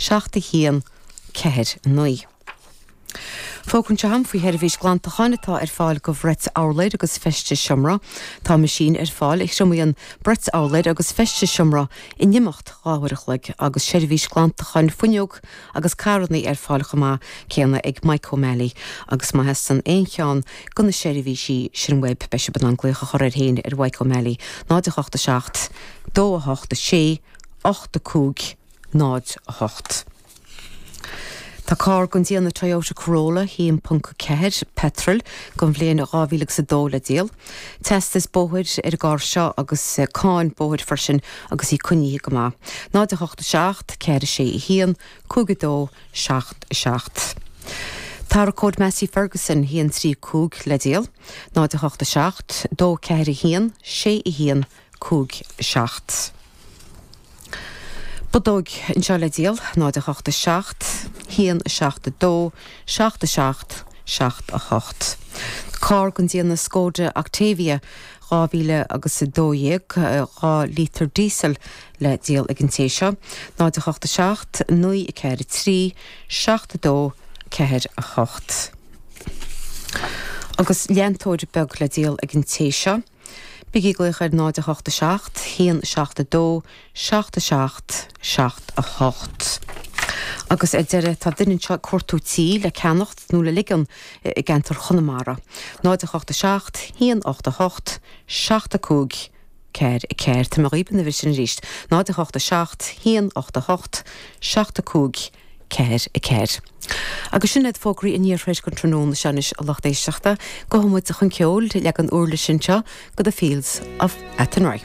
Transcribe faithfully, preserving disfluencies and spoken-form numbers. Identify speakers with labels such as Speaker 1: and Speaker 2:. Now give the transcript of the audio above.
Speaker 1: seacht a haon ceathair naoi. Fógra anseo agam faoi sheirbhís glantacháin atá ar fáil go bhrait urláir agus feistis seomra. Tá meaisín ar fáil a thriomaíonn brait urláir agus feistis seomra in imeacht dhá uair a chloig agus seirbhís glantacháin fuinneog agus carranna ar fáil chomh maith céanna ag Mike O'Malley agus má theastaíonn aon cheann de na seirbhísí sin uaibh beidh sibh in ann glaoch a chur air féin ar Mike O'Malley náid a hocht a seacht, dó a hocht a sé, ocht a cúig, náid a hocht. Tá carr den déanamh Toyota Corolla haon ponc ceathair petrol den bhliain dhá mhíle agus a dó le díol. Teastas bóthair ar an gcarr seo agus cáin bóthair freisin agus í coinnithe go maith. Náid a hocht a seacht, ceithre sé a haon, cúig a dó, seacht a seacht. Tarracóir Massey Ferguson haon trí cúig le díol. Náid a hocht a seacht, dó ceathair a haon, sé a haon, cúig seacht. Bodóg anseo le díol, náid a hocht a seacht, haon a seacht a dó, seacht a seacht, seacht a hocht. Carr den déanamh Skoda Octavia dhá mhíle agus a dó dhéag, dhá lítear diesel le díol ag an té seo, náid a hocht a seacht, naoi a ceathair a trí, seacht a dó, ceathair a hocht. Agus leantóir beag le díol ag an té seo. Bígí ag glaoch ar náid a hocht a seacht, haon seacht a dó, seacht a seacht, seacht a hocht. Agus ar deireadh tá duine anseo ag cuartú tí le ceannacht nó le ligean i gceantar Chonamara. Náid a hocht a seacht, haon ocht a hocht, seacht a cúig, ceathair a ceathair. Tá mé dhaoibh an uimhir sin arís. Náid a hocht a seacht, haon ocht a hocht, seacht a cúig, ceathair a ceathair. Agus sin iad fógraí an iarthair don tráthnóna seo anois a lucht éisteachta, gabhfaidh muid chun ceoil leagan uirlis anseo go The Fields of Athenry.